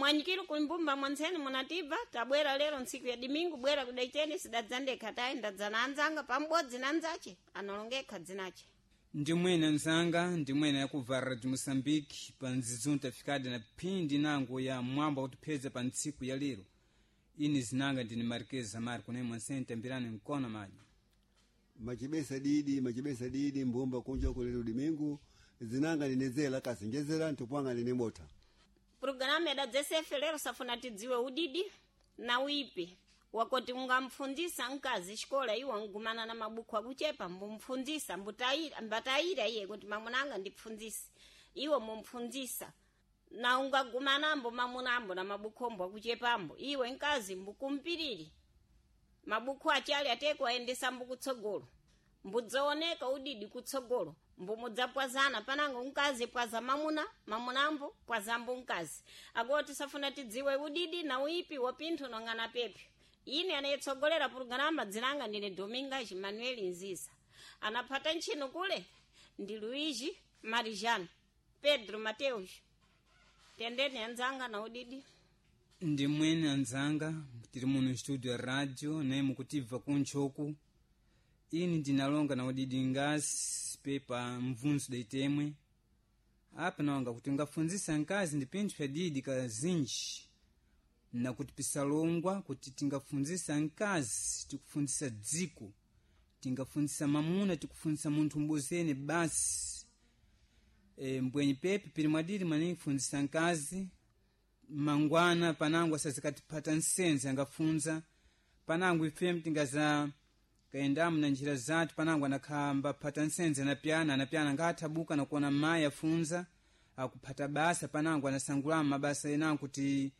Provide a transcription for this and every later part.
Mwanyikilo kuimbumba mwanzeni munatiba tabwera lero ntsiku ya dimingu bwera kudaiteni sidadzandekha tayi ndadzana anzanga pamubodzi na anzace analongekha dzinace. Ndimwene nzanga ndimwene yakubva Radio Moçambique pa nzizunta fikada na phindi nango ya mwamba kutipheza pa ntsiku ya lero. Ini zinanga ndini Marquez Zamar kunemwe mwansene tambirani mkono maji. Machibesa didi machibesa didi mbumba kunja kulero dimingu zinanga ndinezela kasengezera ntupwanga ndine bota. Programu yadadzesefe lero safuna tidziwe udidi na uipi wakoti ungamfundzisa mkazi xikola iwo angumana na mabuku akuchepa mbumfundzisa mbutayira mbatayira iye kuti mamunanga ndipfundzise iwo mumpfundzisa na ungagumanambo mamunambo na mabuku ombo akuchepambo iwe mkazi mbukumpiriri mabuku achali ateko aendesa mbukutsogolo mbudzooneka udidi kutsogolo mbumudzapwazana panango mkazi pwaza mamuna mamunambo pwazambo mkazi akoti safuna tidziwe udidi na uipi wa pinthu nong'ana pepyo. Ine anayetsogolera pulogalamu dzinanga ndine Domingas Manuel Nziza anaphata ntchino kule ndi Luigi Marijano Pedro Mateus. Tendeni anzanga na udidi. Ndimwene anzanga tili muno studio ya radio naye mukutibva kuntchoku. Ini ndinalonga na udidi ngasi pepa mvunzo daitemwe apa nawanga kuti ngafundzisa nkazi ndi pinthu pya didi kazinji na kuti pisalongwa kuti tingafundzisa nkazi tikufundzisa dziko, tingafundzisa mamuna tikufundzisa munthu mbozene basi. Mbwenyi pepe pili mwadidi maningi kufundzisa nkazi mangwana panango asazikatipata nsenze angafunza panango ife tingaza kaendamu na njira zathu panango anakhamba phata nsenze anapyana anapyana ngathabuka nakuona mayi afunza akuphata basa panango anasangulamo mabasa enango kuti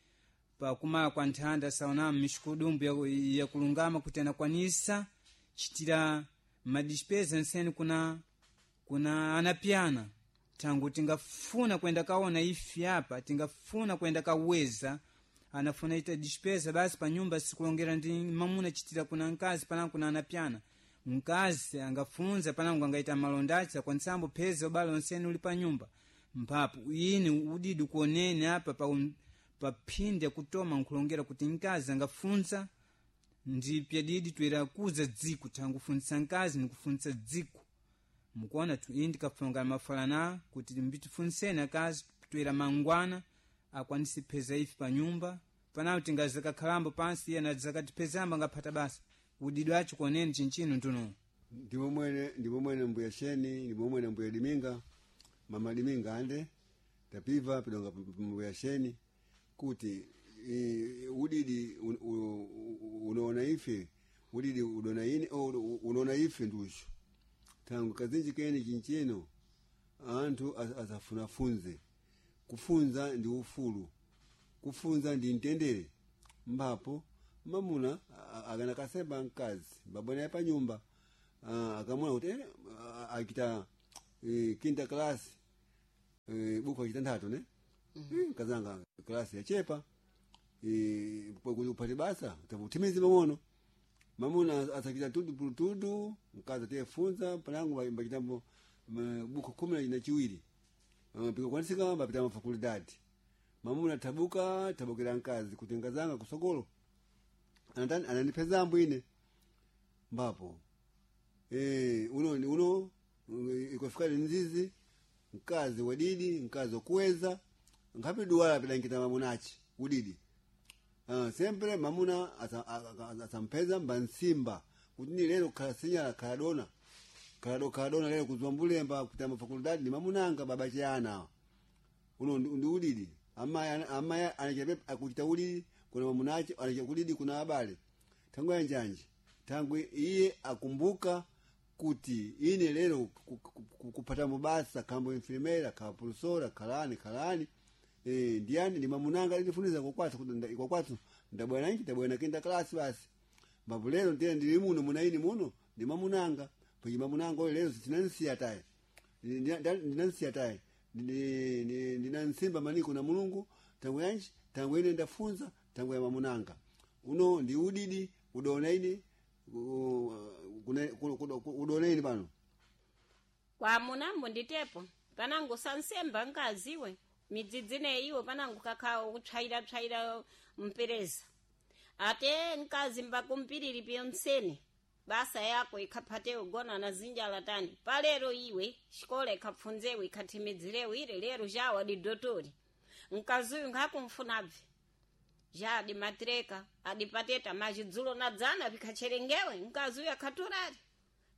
pakumala kwa nthanda saonamu mixikudumbu yakulungama kuti anakwanisa chitira madispesa nsene kuna anapyana. Tangu tingafuna kwenda kaona ifi apa tingafuna kwenda kaweza anafuna ita dispesa basi pa nyumba sikulongera ndi mamuna chitira kuna nkazi panango kuna anapyana. Mkazi angafunza panango angaita malondachi akwanisambo pheza ubale onsene uli pa nyumba mphapo ini udidi kuonene apa pa phindi yakutoma nkulongera kuti nkazi angafunza ndi pyadidi toera kuza dziko tangu kufunzisa nkazi nikufunzisa dziko. Mukuona tu ini tikafunga mafalana kuti mbitifunseni akazi toera mangwana akwanise pheza ife pa nyumba panapo tingazakakhalambo pansi iye anadzakatiphezamba angaphata basa udidi wacho kuoneni chinchino ntuno. Ndimo mwene ndimo mwene mbuya Sheni ndimo mwene mbuya Diminga mama Diminga ande tapiva pidonga mbuya Sheni kuti udidi unaona ife udidi udona ine unaona ife ndusho tangu kazinji kene chinchino anthu asafunafunze kufunza ndi ufulu kufunza ndi mtendere mbapo mamuna akana kasemba mkazi babona ya panyumba akamona kuti akita kinta klasi buku akita nthatu ne kazanga klasi yachepa kuti upate basa takuthimizi pang'ono mamuna asakita tudu pulutudu mkazi atiyefunza panango mbachitambo buku 12 pikakwanisika mbapita mafakulidadi mamuna tabuka tabukira mkazi kuti nkazanga kusokolo anandipeza ambwine mbapo uno uno ikofika nzizi mkazi wadidi mkazi wakuweza nkhapi duwala pidankita mamunachi udidi sempre mamuna asampeza mbansimba kuti ni lero khala sinyala khala dona khala dona lero kuzwa mbulemba kupita mafakulidadi ni mamunanga baba chiyana uno ndi udidi amayi anachape akuchita udidi kuna mamunachi anachita kudidi kuna abale tangu yanjanji tangu iye akumbuka kuti ine lero kupata mubasa kambo infirmera kapulsora kalani kalani ndiyani ndi mamunanga lilifuniza kwakwathu kuti kwakwathu ndabwana nchi ndabwana kinda klasi basi mbapo lero ndiye ndili muno munaini muno ndi mamunanga pwenye mamunanga oyo lero sinansiya tayi ndinansiya tayi ndinansimba maniko na Mulungu tangu yanji tangu ine ndafunza tangu ya mamunanga uno ndi udidi udona ine udona ine pano kwa munambo nditepo panango sansemba nkaziwe Midzidzine iwo panangu kakhawo kutshayira mpereza. Ate mkazi mbakumpiriri piyonsene basa yako ikhaphate ugona na zinjala tani palero iwe xikola ikhapfunzewe ikhathimidzirewe ile lero jawa didotori mkazi uyu nkhakumfunabve ja adimatireka adipateta majidzulo na dzana vikhacherengewe mkazi uyu akhaturari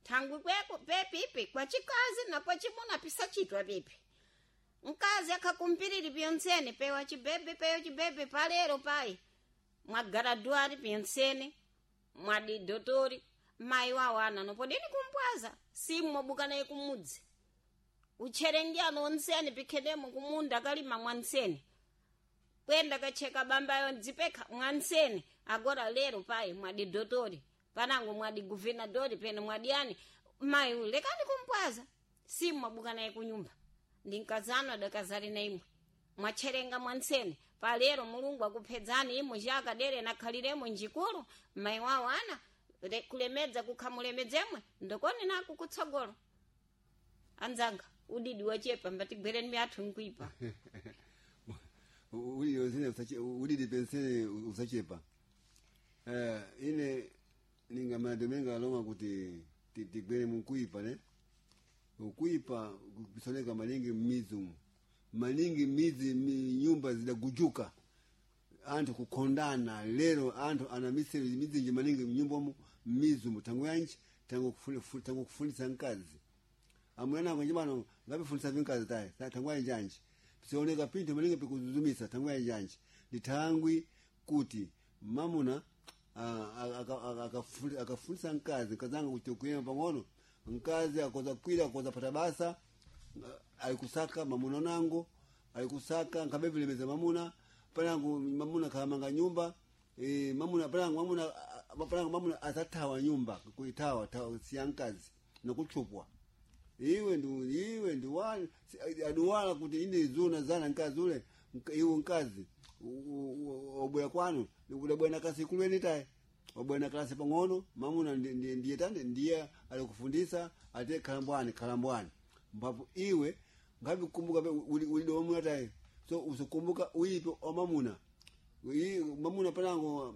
thangwi kweko pepipi kwa chikazi na kwa chimuna pisachitwa pipi mkazi akhakumpiriri piyonsene pewa chibebe pewa chibebe palero pai mwagaraduari piyonsene mwadidotori mayi wawo ana nopodeni kumpwaza simu mwabuka naye kumudzi utcherengeano onsene pikhenemo kumunda kalima mwansene kwenda kacheka bambayo ndzipekha mwansene agora lero payi mwadidotori panango mwadi guvernadori pene mwadiani mayi uyu lekani kumpwaza simu mwabuka naye kunyumba ndi mkazano adakazali na imwe mwatcherenga mwansene palero mulungu akuphedzani imwe chakadere nakhaliremo njikulu mayi wawo ana kulemedza kukhamulemedzemwe ndokoni naku kutsogolo anzanga udidi wachepa mbatigwereni miathu nkuipa Udidi pensene usachepa. Ine ningamana alonga kuti tigwere mukuipa ne ukuipa kupisoneka maningi mmizi umu maningi mizi nyumba zidagujuka anthu kukondana lero anthu ana misere mizinji maningi mnyumba mmizi umu tangu yanji tangu kufundisa mkazi amuna nako njibano ngapifundisa vinkazi tayi tangu yanji anji pisioneka pinthu maningi pikuzuzumisa tangu yanji anji ndi thangwi kuti mamuna akafundisa mkazi mkazanga kuti kuyema pang'ono mkazi akoza kwira akoza pata basa alikusaka mamuna nango alikusaka nkabevilemeza mamuna panangu mamuna kalamanga nyumba mamuna panangu mamuna panangu mamuna asathawa nyumba kuitawa siya mkazi nokuchupwa iwe ndu iwe ndu aduwala kuti ine zuna zana mkazi ule iwe mkazi obwera kwanu udabwera kasi kulweni tayi obwera kalasi pang'ono mamuna ndiye tani ndiye alikufundisa ate khalambwani khalambwani mbapo iwe ngavikumbuka ulide wamuna tayi so usikumbuka uipe omamuna mamuna panango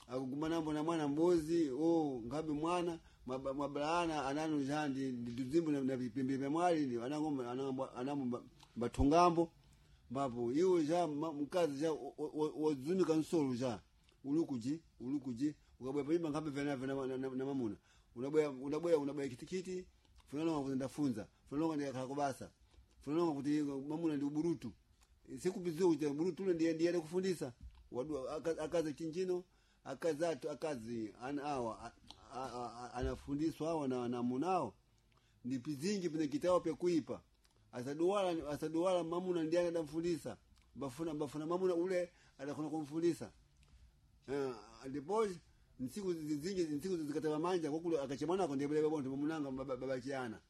akugumanambo na mwana mbuzi o ngabe mwana mwabalana ananu jandi ndizimbu na vipembe vya mwali anango anango mbathungambo mbapo iwe ja mkazi ja wazunika nsolo ja ulukuji ulukuji ukabwera panyumba nkhambe vena na mamuna unabwera unabwera unabwera kitikiti funalonga kuti ndafunza funalonga ndikakhala kubasa funalonga kuti mamuna ndi uburutu sikupiziwa kuti uburutu ule ndiye ndiye kufundisa wadu akazi chinjino akazi atu akazi ana awa anafundiswa awa na namunao ndi pizinji pine kitawo pya kuipa asaduwala asaduwala mamuna ndiye adamfundisa bafuna bafuna mamuna ule adakona kumfundisa ndipo nsiku zinji nsiku zikataba manja kokulu akachemana ko ndebele bonto mamunanga baba chiana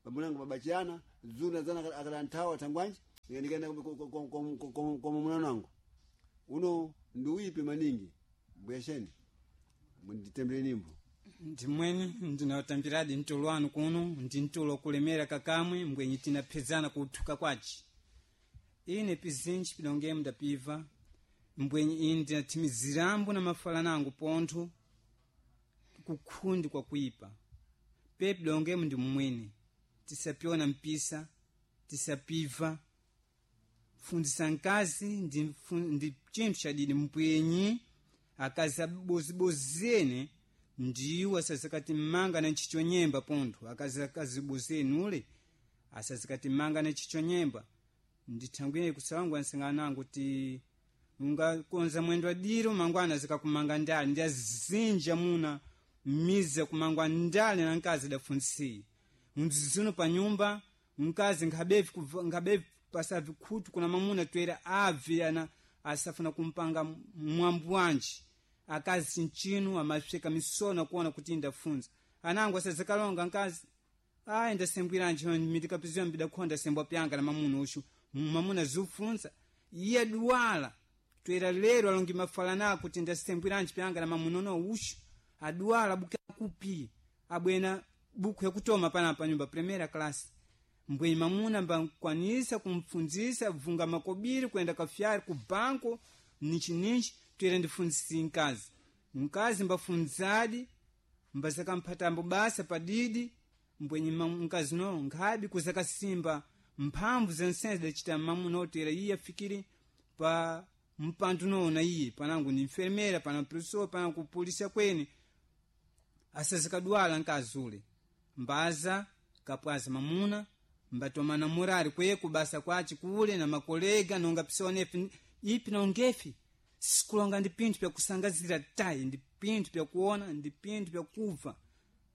mamunanga baba chiana zuna zana akalantawa tangwanji ndikaenda kwa mamuna nangu uno ndiuipe maningi mbwesheni munditembere nimbo ndimweni ndinatambiradi mtulo wanu kuno ndi mtulo kulemera kakamwe mbwenyi tinaphezana kuthuka kwaci ine pizinji pidongemo ndapiva mbwenyi ine ndinathimizirambo na mafala nangu pontho kukhundi kwa kuipa pe pidongemo ndi mmwene tisapyona mpisa tisapiva fundisa nkazi ndi, ndi chinthu chadidi mpwenyi akazi abozibozene ndiwo asazikati mmanga na ntchito nyemba pontho akazi akazibozeni ule asazikati mmanga na ntchito nyemba ndithangwire kusawangu ansangana nangu ti ungakonza mwendo adiro mangwana zikakumanga ndale ndi azinja muna miza kumangwa ndale na nkazi adafunsiye mdzizino pa nyumba mkazi nkhabevi nkhabevi pasavi khutu kuna mamuna toera abve ana asafuna kumpanga mwambu wanji akazi nchinu amapseka misona kuona kuti ndafunza anangu asazikalonga nkazi ayi ndasembwiranji mitikapiziwa mbidakhonda sembwa pyanga na mamuna uxu mamuna zufunza iye duwala toera lero alongi mafala nako kuti ndasembwiranji pyanga na mamuna uno uxu aduwala buke akupi abwena buku yakutoma panapa nyumba primera class Mbwe mamuna mbakwanisa kumfunzisa vunga makobiri kwenda kafyari ku banko nichi nichi twere ndifunzisi nkazi nkazi mbafunzadi mbasakamphatambo basa padidi mbwenye nkazi no nkhabi kuzakasimba mphamvu zensense dacita mamuna otera iye afikire pa mpandu noona iye panangu ni enfermeira pana professor pana kupolisa kweni asazikadwala nkazi ule mbaza kapwaza mamuna mbatomana murari kweku basa kwaci kule na makolega nonga pisonefi ipi nongefi sikulonga ndi pinthu pyakusangazira tayi ndi pinthu pyakuona ndi pinthu pyakuva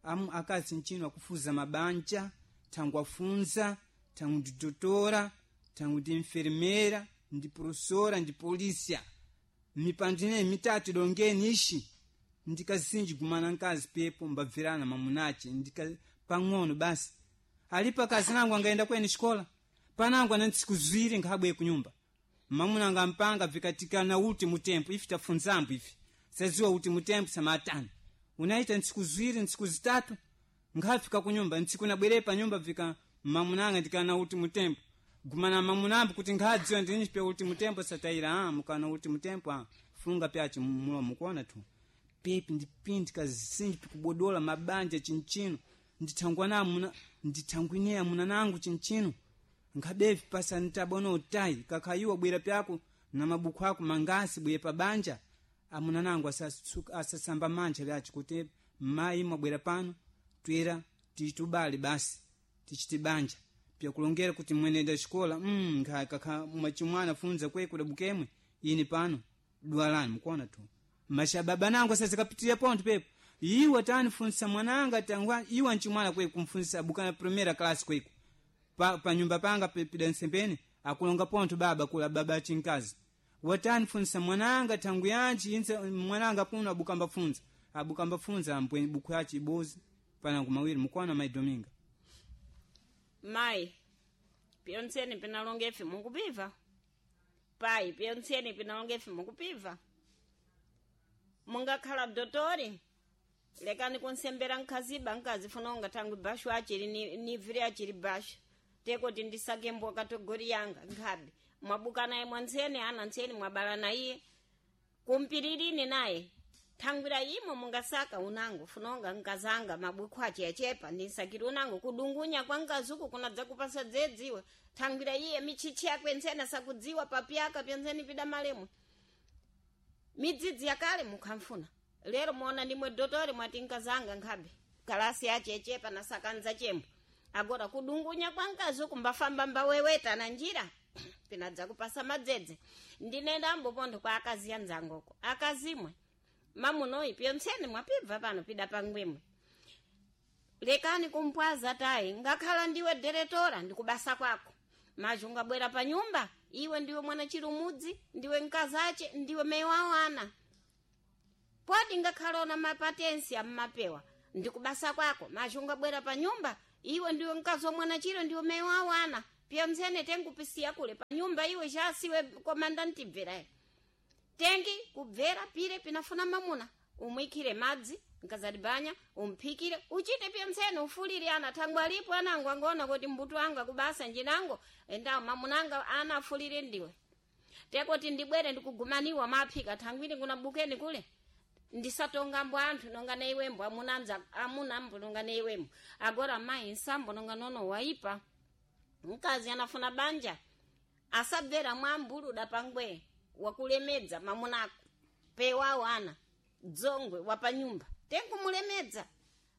amu akazi ncino akufuza mabanja thangu afunza thangu ndi dotora thangu ndi enfermeira ndi professora ndi polisia mipando ineyi mitatu idongeni ixi ndikazinji gumana nkazi pepo mbabvirana mamunace ndika pang'ono basi alipo akazi nangu angaenda kweni xikola panangu ana ntsiku ziwiri nkhabwe kunyumba mamuna anga mpanga vikatikana uti mutempo ifi tafunzambo ifi saziwa uti mutempo samatani unaita ntsiku ziwiri ntsiku zitatu nkhafika kunyumba ntsiku nabwere pa nyumba vika mamunanga ndikana uti mutempo gumana mamunambo kuti nkhadziwa ndinji pya uti mutempo satayira a mukana uti mutempo a funga pyaci mulomo kuona tu pepi ndi pinthu kazinji pikubodola mabanja chinchino ndithangwana muna ndithangwineya muna nangu chinchino nkhabevi pasa ntabona utayi kakhayiwa bwera pyako na mabuku ako mangasi bwere pa banja amuna nangu asasamba manja pyaci kuti mayi mwabwera pano twera titubale basi tichite banja pyakulongera kuti mwenenda xikola kakha mwachimwana funza kwe kudabukemwe ini pano dwalani mukuona tu mashababa nangu asazikapitira ponto pepo iwe tanifunsa mwananga tangwa iwe nchimwana kwe kumfunsa abukana primera class kweku pa, pa nyumba panga pida nsembeni akulonga ponto baba kula baba chinkazi watanifunsa mwananga tangu yanji inse mwananga puno abukamba funza abukamba funza ambwe buku yachi ibozi panangu mawiri mukuona mai Dominga Mayi, pyontseni pinalonga ife mukupiva payi pyontseni pinalonga ife mukupiva mungakhala dotori lekani kunsembera nkhaziba nkazi funa ungathangu bashu achili ni viri achili bashu tekoti ndisake mbwa kategori yanga nkhabe mwabuka naye mwantseni ana ntseni mwabala na iye kumpiririni naye thangwira imo mungasaka unango funonga nkazanga mabukhu ache achepa ndinsakiri unango kudungunya kwa nkazuku kunadza kupasa dzedziwe thangwira iye michichi yakwe ntsena sakudziwa papyaka pyantseni pida malemwe midzidzi yakale mukhamfuna lero muona ndimwe dotori mwati nkazanga nkhabe kalasi yache echepa nasakanza chembo agora kudungunya kwa nkazuku mbafamba mbaweweta na njira pinadza kupasa madzedze ndinenda mbopontho kwa akazi anzangoko akazimwe mamunoyi pyontseni mwapibva pano pida pangwimwe lekani kumpwaza tayi ngakhala ndiwe deretora ndikubasa kwako maji ungabwera pa nyumba iwe ndiwe mwana chilumudzi ndiwe mkazache ndiwe meyi wawo ana podi ngakhala ona mapatensi ammapewa ndikubasa kwako maji ungabwera pa nyumba iwe ndiwe mkazi wa mwana chilo ndiwe meyi wawo ana pyontsene tengupisiya kule pa nyumba iwe chasiwe komanda ntibverayi tengi kubvera pire pinafuna mamuna umwikhire madzi nkazadibanya umphikire uchite pyontsene ufulire ana thangwe alipo anango angoona kuti mbuto anga kubasa njinango endawo mamunanga ana afulire ndiwe tekoti ndibwere ndikugumaniwa maphika thangwini kunabukeni kule ndisatonga mbo anthu nonga neiwembo amunanza amunambo nonga neiwembo agora mayi nsambo nonga nono waipa mkazi anafuna banja asabvera mwambuluda pangwe wakulemedza mamunako pewawo ana dzongwe wapanyumba tenkumulemedza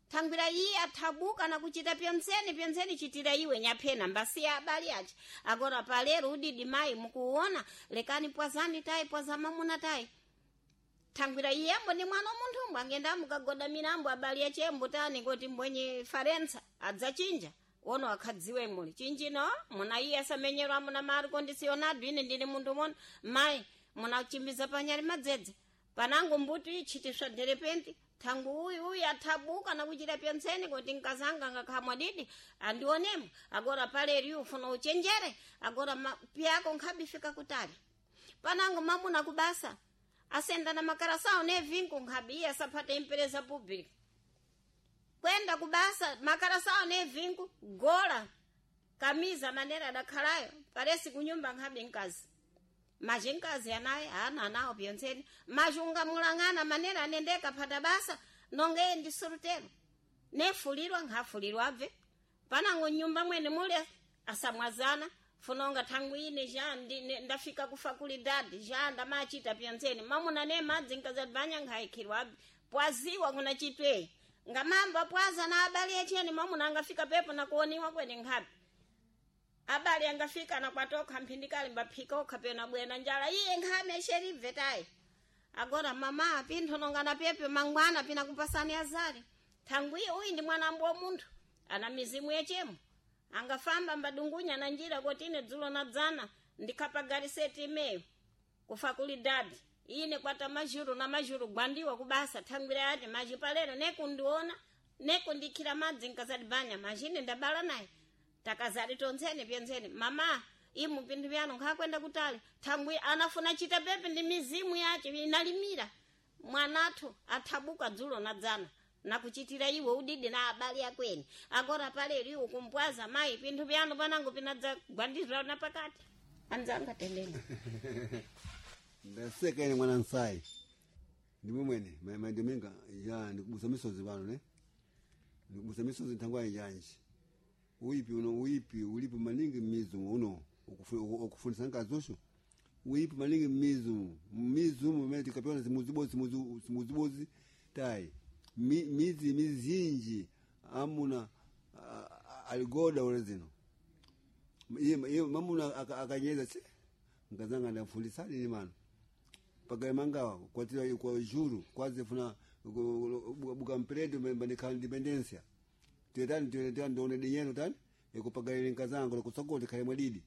thangwira iye athabuka nakuchita pyontseni pyontseni chitira iwe nyaphena mbasiya abali aja agora palero udidi mayi mukuona lekani pwazani tayi pwaza mamuna tayi thangwira iyembo ni mwana munthu angenda mukagoda milambo abali achembo tani kuti mbwenye farensa adzachinja wono akhadziwe muli chinjino muna iye asamenyerwa amuna mariko ndisionadu ine ndine munthu mono mayi munachimbiza panyali madzedze panango mbuti ichitiswa derepenti thangu uyu uyu athabuka nakuchita pyontseni kuti nkazanga ngakhamwa didi andionemo agora paleri ufuna uchenjere agora pyako nkhabifika kutali panango mamuna kubasa asenda na makarasao nevinko nkhabi iye asaphata empresa pública kwenda kubasa makarasao nevinko gola Kamiza manera adakhalayo paresi kunyumba nkhabe nkazi. Maji nkazi anaye ana anawo pyontseni. Maji ungamulang'ana manera anendeka phata basa nonga iye ndi solutero. Nefulirwa nkhafulirwa abve. Panango nyumba mwene mule asamwazana funonga thangu ine ja ndafika kufa kuli dadi ja ndamachita pyontseni. Mamuna ne madzi nkazadibanya nkhayikhirwa abve. Pwaziwa kuna chitwe. Ngamamba pwaza na abale echeni mamuna angafika pepo na kuoniwa kwene nkhabe. Abale angafika na kwatoka mphindikali mbaphika okha pena bwena njala iye nkhame esherive tayi. Agora mama pinthu nongana pepe mangwana pina kupasani azali. Thangu iye uyi ndi mwana wa munthu ana mizimu yechemo. Angafamba mbadungunya na njira kuti ine dzulo na dzana ndikhapa galiseti imeyo kufa kuli dadi. Ine kwata majuru na majuru gwandiwa kubasa thangwira yati maji palero nekundiona nekundikhira madzi nkazadibanya majine ndabala naye. Takazali tonzeni pyenzeni mama imu pinthu pyanu nkhakwenda kutali thangwi anafuna chita pepe ndi mizimu yace inalimira mwanathu athabuka dzulo na dzana nakuchitira iwe udidi na abale akweni agora palero iwe kumpwaza mayi pinthu pyanu panango pinadzagwandizwa na pakati anzanga tendeni. Ndaseka ine mwana nsayi. Ndimwe mwene maidominga ya ndikubusa misozi pano ne. Ndikubusa misozi nthangwa yanji. Uipi uno uipi ulipo maningi mizu uno ukufundisa nkazosho. Uipi maningi mizu mizu mwe tikapewa simuzibozi simuzibozi tai. Mizi mizinji amuna aligoda ule zino. Iye mamuna akanyeza tse nkazanga ndafundisa ni mano. Pagale mangawa kwa tira kwa juru kwaze funa buka mpredo mbandika independencia. Tetani tetani ndone dinyeno tani ekupagale nkazanga lokusokoti khale mwadidi.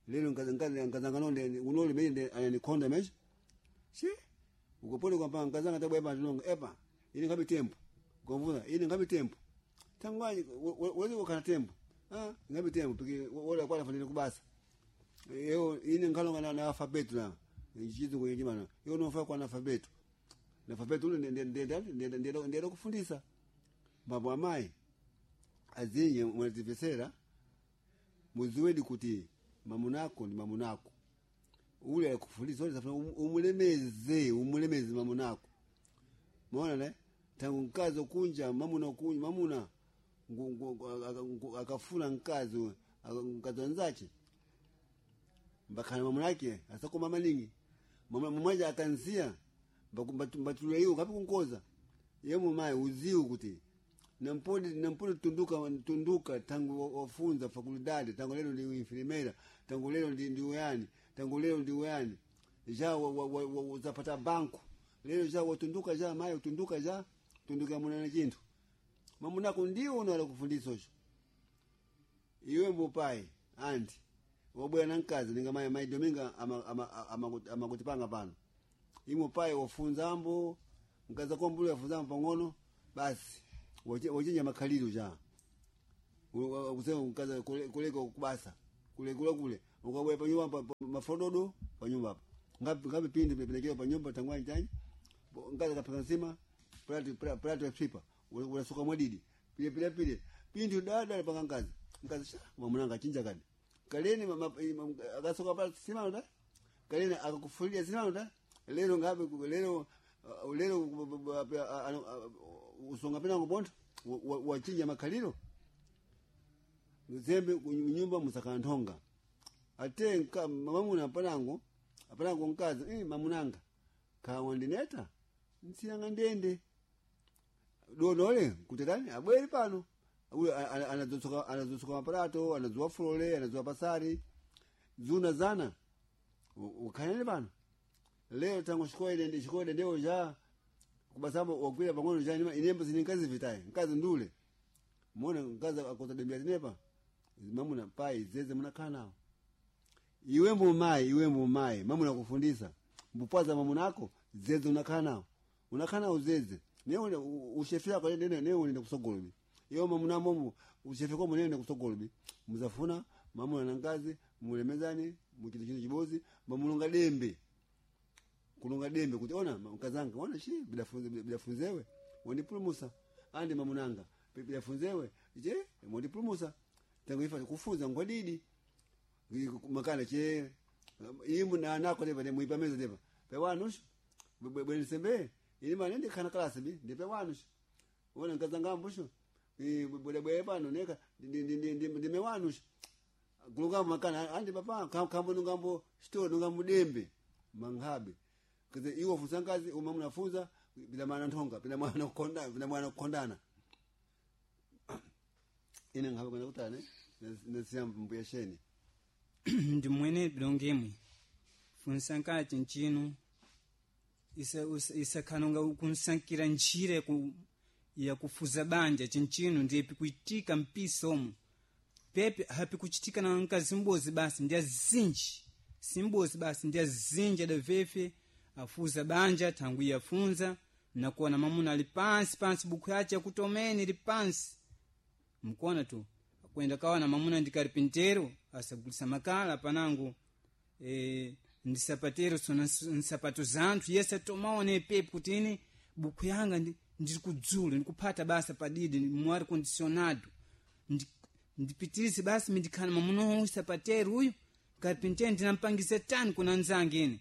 Lelo nkazanga nonde unole mende ananikonda mesho. Shi ukopole kwamba nkazanga tabwa eba epa ini ngabe tempo. Ngomvuna ini ngabe tempo. Tangwani wewe wakana tempo. Ah ngabe tempo piki wala kwa fanile kubasa. Yo ini ngalonga na alphabet na njizu kwenye jimana. Yo nofa kwa alphabet. Na alphabet ule ndiye kufundisa. Baba mai azinye mwatifesera muziweni kuti mamunako ni mamunako. Ule akufundisa ule safuna umulemeze mamunako. Muona ne? Tangu nkazo kunja mamuna kunja mamuna akafuna nkazo nkazo nzache. Mbakana mamunake asako mama ningi. Mama mmoja akanzia mbatulwa hiyo ngapi kunkoza. Yemo mai uziu kuti nampodi tunduka tangu wafunza fakulidade tangu leo ndi infirmera tangu leo ndi uyani tangu leo ndi uyani ja zapata banku leo ja watunduka ja mai utunduka ja tunduka munana chintu mamunako ndio unala kufundisa osho iwe mbupai anti wabwera na nkazi ninga mai mai dominga amakutipanga pano imo pai wafunza ambo nkaza kwambulu wafunza ambo pang'ono basi wachinja makhaliro ja kusema nkaza kuleka kubasa kule kule ukabwera pa nyumba mafododo pa nyumba hapa ngapi pindi pepelekea pa nyumba tangwani tani nkaza kapaka nsima plati ya tripa unasuka mwadidi pile pile pile pindi dada paka nkazi nkazi sha mamunanga chinja kadi kaleni akasuka pa sima ndo kaleni akakufulia sima ndo lero ngapi lero lero usonga pena ngobonto wachinja makhaliro zembe nyumba musakanthonga ate mamuna panango apanango nkazi mamunanga kawa ndineta nsiyanga ndende donole kutetani abweri pano uyo anazotsoka maparato anazuwa fulole anazuwa pasari zuna zana ukhanene pano lero tango xikoele xikoele ndewo ja kubasambo wagwira pang'ono ja inembo zini nkazi vitaye nkazi ndule mona nkazi akoza dembia zinepa mamuna pai zeze munakhala nawo iwe mbumayi iwe mbumayi mamuna kufundisa mbupwaza mamunako zeze unakhala nawo unakhala nawo zeze newe ushefe yako newe unenda kusogolobi iyo mamuna momo ushefe kwa munene kusogolobi muzafuna mamuna na nkazi mulemezani muchito chino chibozi mamulonga dembe kulonga dembe kuti ona mkazanga ona shi bidafunzewe wandipulumusa andi mamunanga bidafunzewe je wandipulumusa Tangu ifa kufunza ngwadidi makana che imu na nako leva ne muipa meza leva pe wanushu bwe sembe ili manende kana klasi bi ndipe wanushu wona nkazanga mbushu bwe bwe pano neka ndi me wanushu kulunga makana andi papa kambo nungambo sto nungambo dembe manghabe kaze iwo funza ngazi uma mnafunza bila maana ntonga bila maana kukonda bila maana kukondana ine ngabe kwenda kutane nasiya mbuya sheni. Ndi mwene bilongemwe funsankala chinchino isakhanonga kunsankira njira yakufuza banja chinchino ndiye pikuitika mpisa omo pepe hapikuchitika na nkazi mbozi basi ndi azinji simbozi basi ndi azinji adavefe afuza banja thangu yafunza nakuona mamuna ali pansi pansi buku yace yakutomene ili pansi mkuona tu kwenda kawana mamuna ndi karpintero asagulisa makala panangu ndisapatero sona nsapato zanthu yese atomaone pepe kuti ine buku yanga ndiri kudzula ndikuphata basa padidi mwari condicionado ndipitirize basi mindikhana mamuna uyu sapatero uyu karpintero ndinampangisa tani kuna nzange ine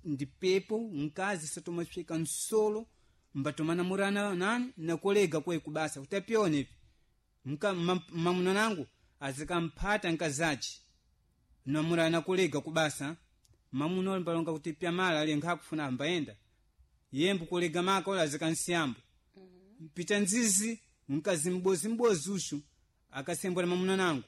ndipepo mkazi satomafika nsolo mbatomana nani nakolega kwe kubasa kuti apione mamuna nangu azikamphata nkazaci namurana kolega kubasa mamuna mbalonga kuti pyamala ali nkhakufuna ambayenda yembu kolega maka ola azikansiyambo pita nzizi mkazi mbozi mbozi ushu akasembwera mamuna nangu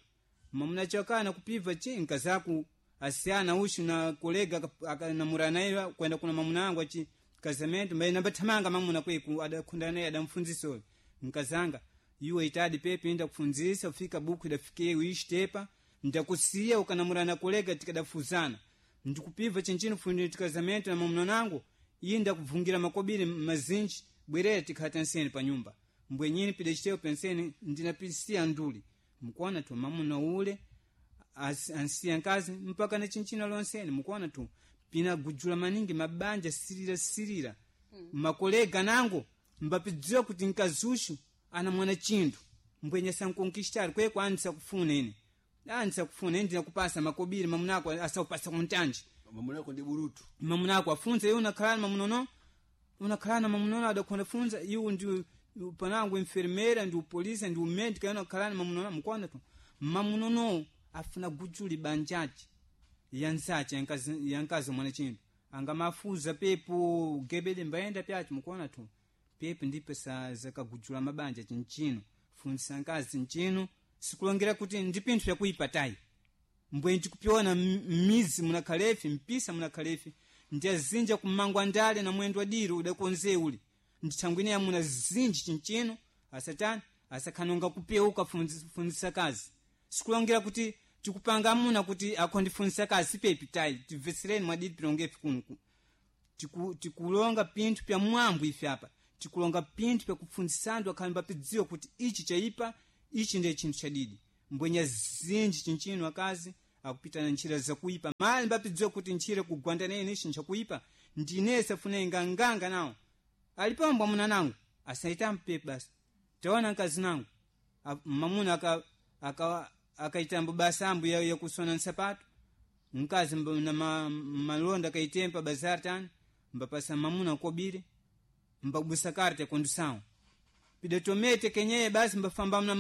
mamuna chakana kupiva chi nkazaku asiyana ushu na kolega namurana naye kwenda kuna mamuna nangu achi kazamento mbaye nambathamanga mamuna kweku adakhunda naye adamfundzisa uyu nkazanga iwe itadi pepe inda kufundzisa ufika buku idafike uishitepa ndakusiya ukanamurana kolega tikadafuzana ndikupiva chinchino fundi tikazamento na mamuna nangu iye ndakubvungira makobiri mazinji bwerera tikhata nseni pa nyumba mbwenyini pidachitewo penseni ndinapisiya nduli mukuona tu mamuna ule ansiya nkazi mpaka na chinchino lonseni mukuona tu pinagujula maningi mabanja sirira sirira makolega nangu mbapidziwa kuti nkazushu ana mwana chinthu mbwenye sankonkistari kweko andisakufuna ine andisakufuna ine ndinakupasa makobiri mamunako asakupasa kuntanji mamunako ndi burutu mamunako afunza iwe unakhalana mamunono unakhalana mamunono adakhonda funza iwe ndi panangu enfermeira ndi upolisa ndi umedika iwe unakhalana mamunono mukuona tu mamunono afuna gujuli banjaji yansachi yankazi mwana chinthu angamafuza pepo gebede mbayenda pyachi mukuona tu pepo ndipo zakagujula mabanja chinchino funzisa nkazi nchino sikulongera kuti ndi pinthu vyakuipa tayi mbwe ndikupiona mmizi munakhalefi mpisa munakhalefi ndiyazinja kumangwa ndale na mwendo wadiro udakonze uli ndithangwine yamuna zinji chinchino asatani asakhanonga kupeuka funzisa kazi sikulongera kuti tikupanga amuna kuti akhondifunzisa kazi sipepi tayi tibvesereni mwadidi pilongefi kunuku tikulonga pinthu pya mwambo ife apa tikulonga pinthu pyakufunzisa anthu akhale mbapidziwa kuti ichi chaipa ichi ndiye chinthu chadidi mbwenya zinji chinchino akazi akupita na ntchira zakuipa mali mbapidziwa kuti ntchira kugwanda nene ichi nchakuipa ndinese afune nganganga nawo alipo mbwa muna nangu asaita mpepe basi taona nkazi nangu mamuna akaitambo basa ambu yakusona nsapato mkazi na malonda akaitempa bazar tani mbapasa mamuna kobire mbabusa karte kondusawo pidatomete kenyeye basi mbafamba mna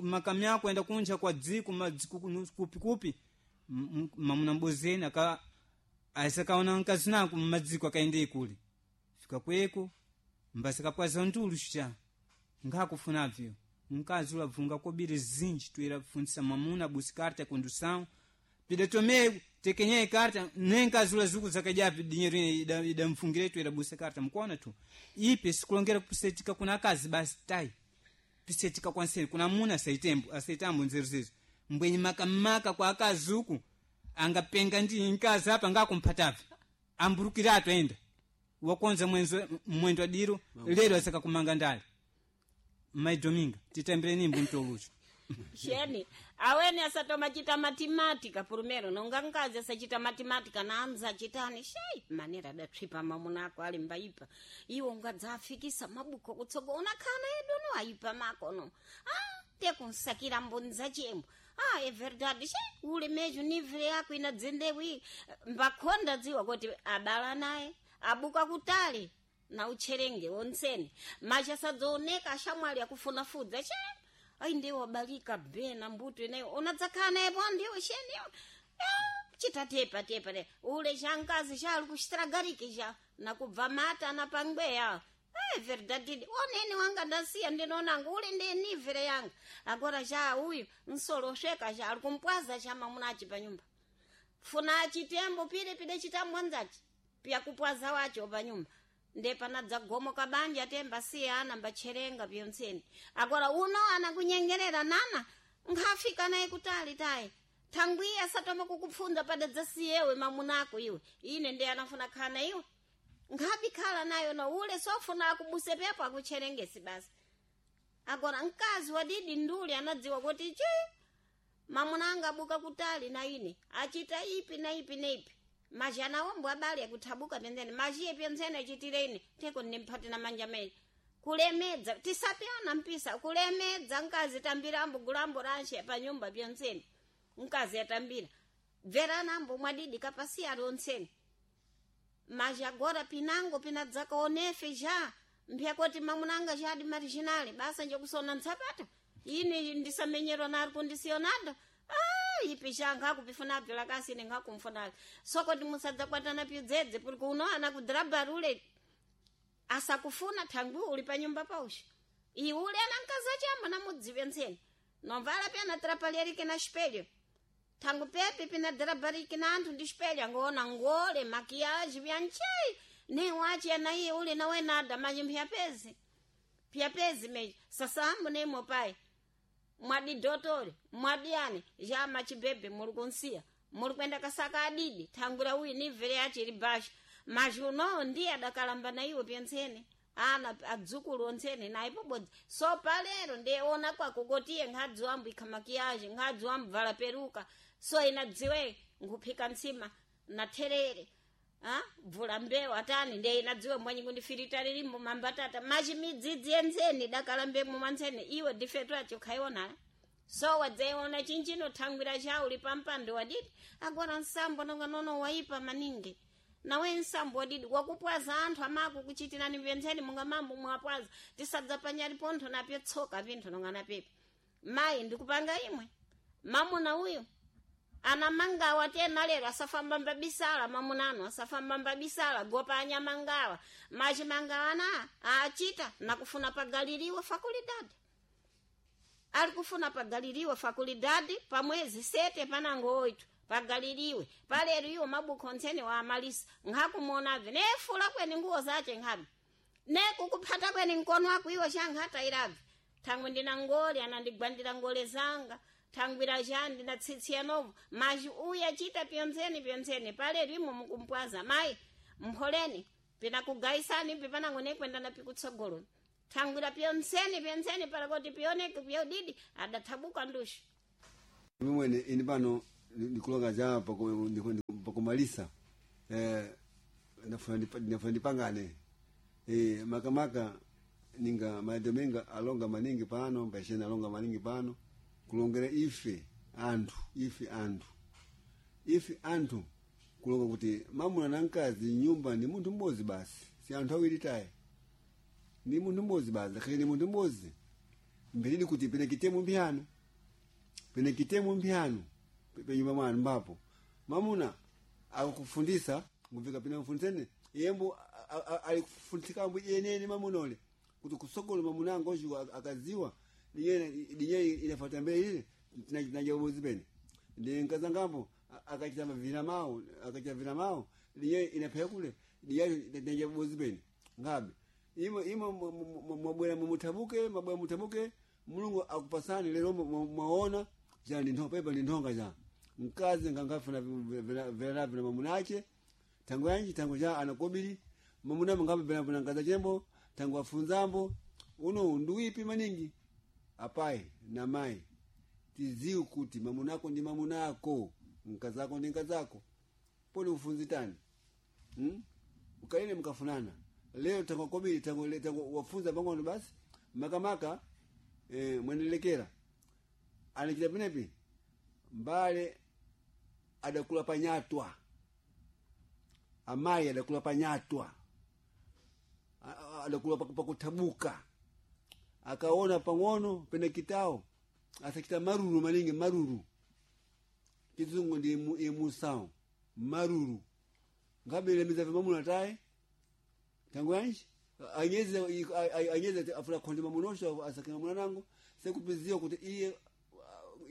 makamya kwenda kunja kwa dziko madziko kupi kupi mamuna mbozeni aka asakaona nkazi nako mmadziko akaende ikuli fika kweko mbasakapwaza ndulu sha ngakufunavyo mkazi ulavunga kobiri zinji tuyera kufundzisa mamuna busi karta kondusawo pidatome tekenyeye karta nenkazi ula zuku zakajapi dinyeru idamfungire tuyera busi karta mukuona tu ipe sikulongera kupisetika kuna akazi basi tayi pisetika kwanseri kuna muna asaitembo asaitambo nzeru zezo mbwenye makamaka kwa akazi uku angapenga ndi nkazi apa ngakumphatavi amburukiratu enda wakonza mwendo adiro lero asakakumanga ndale maidominga titambire nimbo mtolucho sheni aweni asatomachita matimatika purumero nonga nkazi asachita matimatika naanza achitani shei manera adatsvipa mamunako ali mbaipa iwo ungadzafikisa mabuko kutsogo unakhana edu no aipa makono ah, Tekunsakira mbonza chembo. Ah, é verdade. Che, ule mejo nível yako inadzendewi. Mbakonda dziwa kuti abala naye, abuka kutali na utcherenge wonsene. Machasadzooneka ashamwali akufuna fudza. Che, ai ndiwo wabalika bena mbuto ineyo. Unadzakhala naye po ndiwo sheniyo. Chitatepa tepa te. Ule chankazi chali kuchitragariki cha nakubva mata anapangweya. É verdade. Onene wanga ndasiya ndinonanga ule ndiye nivere yanga. Agora já uyu nsolosheka já ali kumpwaza cha mamunachi pa nyumba. Funa chitembo pile pide chitambo nzachi. Pia kupwaza wacho pa nyumba. Nde panadza gomo kabanja temba siya ana mbacherenga pyonseni. Agora uno anakunyengerera nana nkhafika naye kutali tayi. Thangwiya satoma kukupfunza padadza siyewe mamunako iwe. Ine ndiye anafuna khana iwe. Nkhabi khala nayo no ule sofuna akubuse pepo akucherengesi basi. Agora mkazi wa didi nduli anadziwa kuti chi mamunanga abuka kutali na ine achita ipi na ipi na ipi. Maji anaombo abali akuthabuka penzene majiye penzene achitire ine teko ndimphate na manja mene. Kulemedza tisapyana mpisa kulemedza mkazi tambirambo gulambo ranshe pa nyumba pyonsene. Mkazi atambira. Bveranambo mwadidi kapasiya lonsene. Mas agora pinango pinadzaka onefe já mphyakoti mamunanga já di marginal basa njokusona ntsapata ine ndisamenyerwa nari kundisionada ah ipi já nkakupifunabyo lakasi ine nkakumfunabyo sokoti musadzakwatana pidzedze puri kuno ana kudrabarule asakufuna thangwi uli pa nyumba pausha iwe ule ana mkazi achamba namudziwe ntseni nomvala pyana trapalherike na espelho thangu pepe pinadrabariki na anthu ndi espelho angoona ngole makiyaji vyanchei ne wachi anaiye ule nawe nada maji mphyapezi pyapezi meji sasambu nemo pai mwadi dotore mwadi yani já machibebe muli kunsiya muli kwenda kasaka adidi thangwira uyu nivere yachi ili basha maji unowo ndiye adakalamba na iwe pyentsene ana adzukulu ontsene naye pobodzi so palero ndiye ona kwako kotiye nkhadzi wambu ikha makiyaji nkhadzi wambu vala peruka so inadziwe nkuphika ntsima na therere Ah, bvula mbewu atani ndiye inadziwe mwanyi kundifirita lilimbo mambatata machi midzidzi yentseni dakalambemo mwantsene iwe difetu acho khaiona so wadzaiona chinchino thangwira chauli pampando wadidi agora nsambo nonga nono waipa maningi nawe nsambo wadidi wakupwaza anthu amako kuchitirani pyentseni munga mambo mwapwaza tisadza panyali pontho napyo tsoka pinthu nonga napepo mayi ndikupanga imwe mamuna uyu anamangawa tena lero asafamba mbabisala mamunano asafamba mbabisala gopa anyamangawa machimangawa na aachita nakufuna pagaliriwe fakulidade ali kufuna pagaliriwe fakulidade pamwezi sete panango oito pagaliriwe palero iwo mabuku ontsene wa amalisa nkhakumuonabve nefula kweni nguwo zace nkhabe nekukuphata kweni mkono wako iwo chankhatairabve thangwe ndina ngole anandigwandira ngole zanga thangwira cha ndinatsitsiya novo maji uyu achita pyontsene pyontsene palero imo mukumpwaza mayi mpholeni pinakugaisani pipanango nekwenda na pikutsogolo thangwira pyontsene pyontsene palakoti pioneke pyodidi adathabuka ndushu Mwene ini pano ndikulonga ja pakumalisa nafuna ndipangane makamaka ninga madominga alonga maningi pano mbashena alonga maningi pano kulongera ife anthu ife anthu ife anthu kulonga kuti mamuna na mkazi nyumba ni munthu mmodzi basi si anthu awiri tayi ni munthu mmodzi basi akhale ni munthu mmodzi mbelidi kuti pene kitemu mphiyano pene kitemu mphiyano penyumba mwanu mbapo mamuna akukufundisa ngumvika pene mfundisene yembo alikufundisikambo yenene mamuna ule kuti kusogolo mamuna angu oxu akaziwa dinye inafuata mbele ile tinajabozi pene ndi nkazangambo akachita vina mao akachita vina mao dinye inapheka kule dinye tinajabozi pene ngabe imo imo mwabwera mumuthabuke mwabwera muthabuke mulungu akupasani lero mwaona ja ndi nthonga pepa ndi nthonga ja mkazi ngangafuna vena vina mamunache tango yanji tango ja anakobili mamuna mangabe vena vina nkaza chembo tango afunzambo uno nduipi maningi apai na mai tiziwe kuti mamunako ndi mamunako mkazako ndi nkazako poni ufunzitani Ukalile mkafunana leo tango kobili tango, tango wafunza pang'ono basi makamaka mwenelekera Anachita penepi mbale adakula panyatwa, amayi adakula panyatwa, adakula pakutabuka, akaona pang'ono pene kitao asakita maruru maningi maruru kizungu ndi imusao maruru ngabele mizavi mamuna taye tangu yanji anyeze anyeze afula konde mamunosho asakina mwana nangu sekupizia kuti iye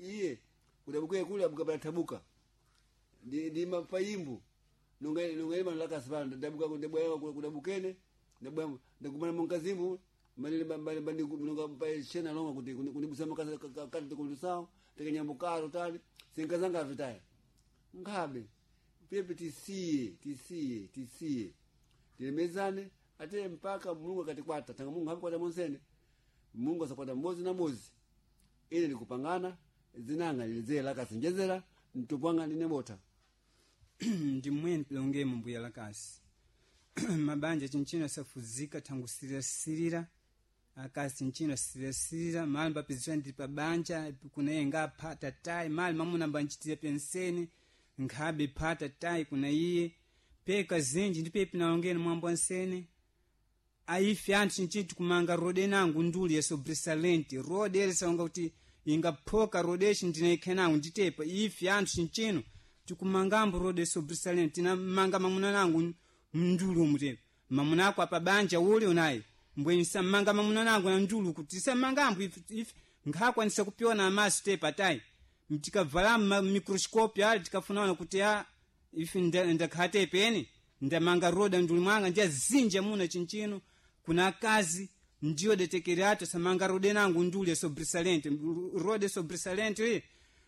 iye kudabuke kule abukabala tabuka ndi ndi mapayimbu nonga nonga ima laka sibana ndabuka ndabwa kudabukene ndabwa ndagumana munkazimbu manile bali bali nonga pa shena longa kuti kunibusama kasa kati kulusao tekanyambukaro tali sinkazanga vitaya ngabe pepe tisiye tisiye tisiye tilemezane ate mpaka Mulungu akatikwata tanga Mungu hakukwata monsene Mungu asakwata mbozi na mbozi ine ndikupangana zinanga nilizela kasinjezera ntupwanga ndinebota Ndi mmwene pilongemo mbuya lakasi mabanja chinchino asafuzika thangu sirirasirira akasi chinchino asirirasilira mali mbapizira ndi pabanja kuna iye ngaphata tayi mali mamuna mbanchitira pensene nkhabe phata tayi kuna iye peka zinji ndi pepi nalongeni mwambo ansene aife anthu chinchino tikumanga rode nangu nduli ya sobresalente rode elisaonga kuti ingaphoka rode ichi ndinaikhe nangu nditepa ife anthu chinchino tikumangambo rode sobresalente tinamanga mamuna nangu mndulu umu tepa mamuna ako apa banja uli unayi mbweni samanga mamuna nangu na ndulu kuti tisamangambo ife ife nkhakwanisa kupiona amaso tepa tayi tikavala ma microscope ali tikafunaona kuti a ife ndakhate peni ndamanga roda nduli mwanga ndiyazinja muna chinchino kuna akazi ndiyo detekerato samanga rode nangu nduli sobresalente rode sobresalente iye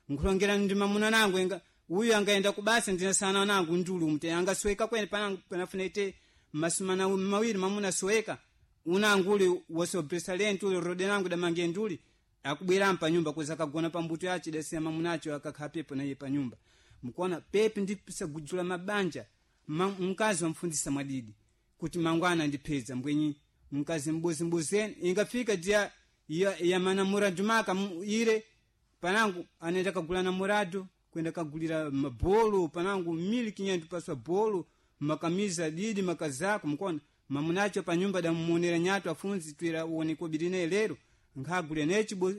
nkulongera ndi mamuna nangu enga uyu angaenda kubasa ndinasana nangu nduli umte angasweka kwene panangu panafuna ite masumana mawiri mamuna sweka unangu uli wasobresalente uli rode nangu damange nduli akubwera panyumba kuza kagona pambuto yacho dasiya mamunacho akakhala pepo naye panyumba mkuona pepi ndisagudzula mabanja mkazi wamfundisa mwadidi kuti mangwana ndipeza mbwenyi mkazi mbuzimbuzeni ingafika dia ya, ya manamuradu maka ire panangu anaenda kagula namuradu kwenda kagulira mabolo panangu miliki nyendu paswa bolo makamiza didi makazako mkuona mamunacho panyumba damumonera nyato afunzi twira uoneko birine lero nkhagulira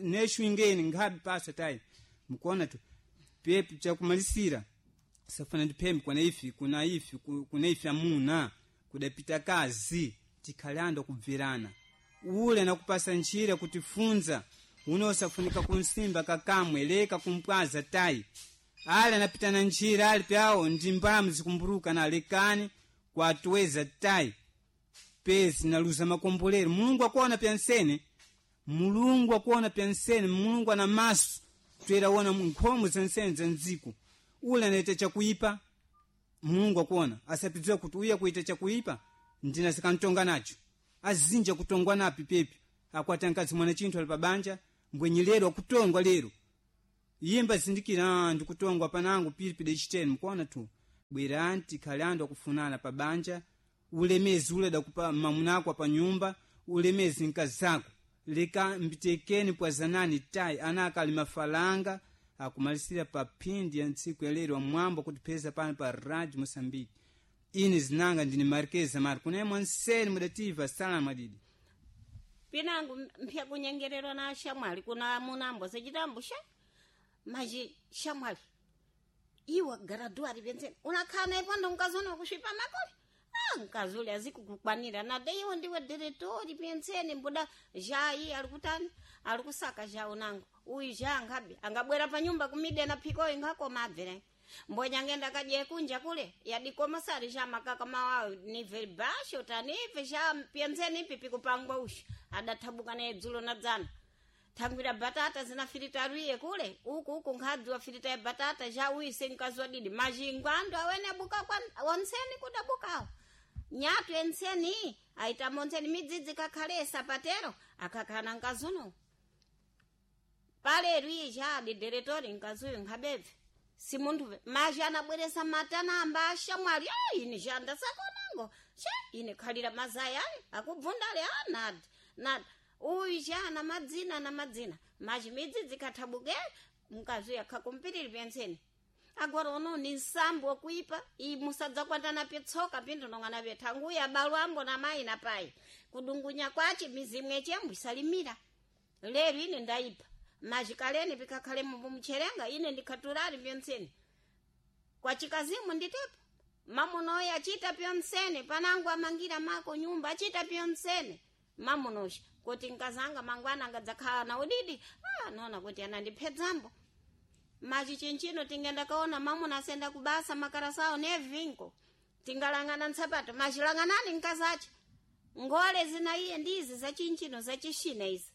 neshwingeni nkhabi paswa tayi mkuona tu pepi chakumalisira safana ndiphembe kuna ifi kuna ifi kuna ifi amuna kudapita kazi tikhalando kubvirana ule nakupasa njira kutifunza unosafunika kunsimba kakamwe leka kumpwaza tayi ali anapita na njira ali pyawo ndi mbamu zikumburuka na lekani kwatuweza tayi pezi naluza makombolero Mulungu akuona pyansene Mulungu akuona pyansene Mulungu ana maso tweraona nkhomo zansene za mdziko ule anaita chakuipa Mulungu akuona asapidziwa kuti uya kuita chakuipa ndina sikantonga nacho azinja kutongwa napi pepi akwata mkazi mwana chinthu ali pabanja mbwenyi lero akutongwa lero yimba zindikira ndikutongwa panangu pilipi dechiteni mkuona tu bwerani tikhale andu akufunana pabanja ulemezi ule dakupa mamunako pa nyumba ulemezi mkazi zako leka mbitekeni pwazanani tayi ana akali mafalanga akumalisira pa phindi ya ntsiku ya lero amwambo kutipeza pano pa Radio Moçambique ine zinanga ndine Marquesa Mar kunaye mwanseni mudativa sala madidi Pinangu mpya kunyengererwa na shamwali kuna munambo sechitambo sha maji shamwali iwa graduari benzeni unakhala naye pando mkazi kusvipa makole ah mkazi ule azikukukwanira nade iwo ndiwe diretori benzeni mbuda jayi ali kutani ali kusaka ja unangu uyu ja angabe angabwera panyumba kumide na phikoyo ngakoma abvere mbonya ngenda kadye kunja kule yadikoma sari ja makaka mawawo nivel basho tanive ja pyenzeni ipi pikupangwa ushu adathabuka naye dzulo na dzana thangwira batata zinafiritaruiye kule uku uku nkhadzi wafirita ya batata ja uyu senkazi wadidi mazhingo andu awene abuka kwa onseni kudabukawo nyatu enseni aitamo onseni midzidzi kakhale sapatero akakhala nkazuno paleru iye ja adidiretori nkazuyu nkhabebve si munthu mazhi anabweresa matana amba ashamwali a ine ja ndasakonango che ine khalira mazai ayi akubvundale a nadi nadi uyu ja ana madzina ana madzina mazhi midzi dzikathabuke Mkazi yakhakumpiriri pyenseni. Agora ono ni nsambo wakuipa imusadza kwatana petsoka pindu nong'ana pethanguya abalu ambo na mayi na payi kudungunya kwache mizimu echembo isalimira. Lero ine ndaipa majikaleni pikakhale mumucherenga ine ndikhaturali pyonseni kwa chikazimu nditepo mamunoyo achita pyonsene panangu amangira mako nyumba achita pyonsene mamunosha kuti nkazanga mangwana angadzakhala na udidi nona kuti anandiphedzambo. Machi chinchino tingenda kaona mamuna asenda kubasa makarasawo nevinko tingalangana ntsapato machilanganani nkazacha ngole zina iye ndizi zachinchino zachisina izi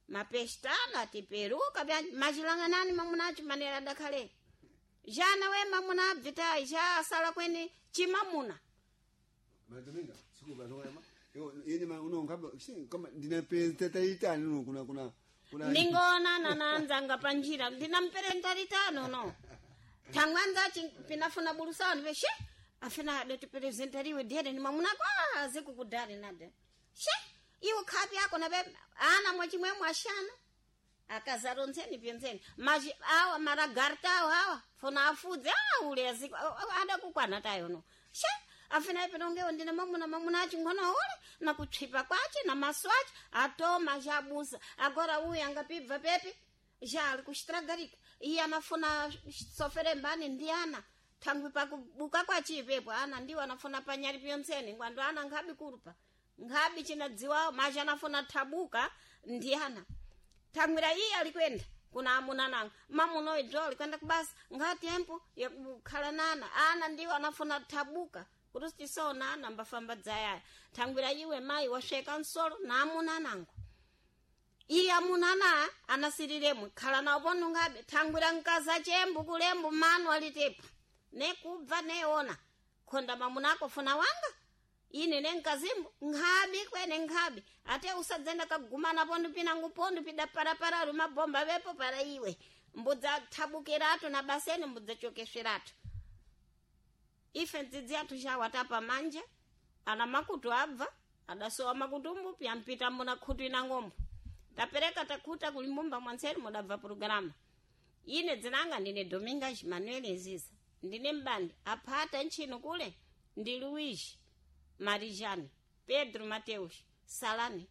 mapestana tiperuka machilanganani mamunacho manera adakhale jana we mamuna abvitayi ja asala kwene chimamuna. Madominga siku bazoka yo yini ma uno ngaba kama ndina president itani uno kuna kuna kuna Ndingoonana na anzanga panjira ndinamperenta litano no thangwanzachi pinafuna bulusani veshe afina adatipresentariwe dhere ni mamunako azikukudhari nade she iwo khapi yako nabe ana mwachimwemwe ashana akazaronzeni pyenzeni machi awa maragarta awo awa funa afudze ule aziko adakukwana tayo no she afina ipinongewo ndine mamuna mamuna achi ngono ule na kutsvipa kwache na maso ache atoma jabusa agora uyu angapibva pepi ja ali kuxitragarika iye anafuna sofere mbani ndi ana thangwi pakubuka kwachipepo ana ndiwo anafuna panyali pyontseni ngwando ana nkhabi kulupa nkhabi chinadziwawo machi anafuna thabuka ndi ana thangwira iye alikwenda kuna amuna nanga mamuno idzo alikwenda kubasa ngatempo yakukhala nana ana ndiwo anafuna thabuka kuti tisoona ana mbafamba dzayaya thangwira iwe mayi wasveka nsolo na amuna nango iye amuna na anasiriremwe khala nawo ponungabe thangwira mkaza chembu kulembu manu alitepa nekubva neona khonda mamunako funa wanga ine nenkazimbo nkhabi kwene nkhabi ate usadzenda kagumana pondu pinangu pondu pida parapara mabomba vepo para iwe mbudza thabukiratu na baseni mbudzachokesweratu ife ndzidzi athu chawatapa manja ana makutu abva adasowa makutumbu pyampita mbuna khutu ina ng'ombo tapereka takhuta kulimbumba mwanseri mudabva programa ine dzinanga ndine Domingas Manuel Nziza ndine mbandi aphata ntchino kule ndi Luigi Marijani Pedro Mateus Salani.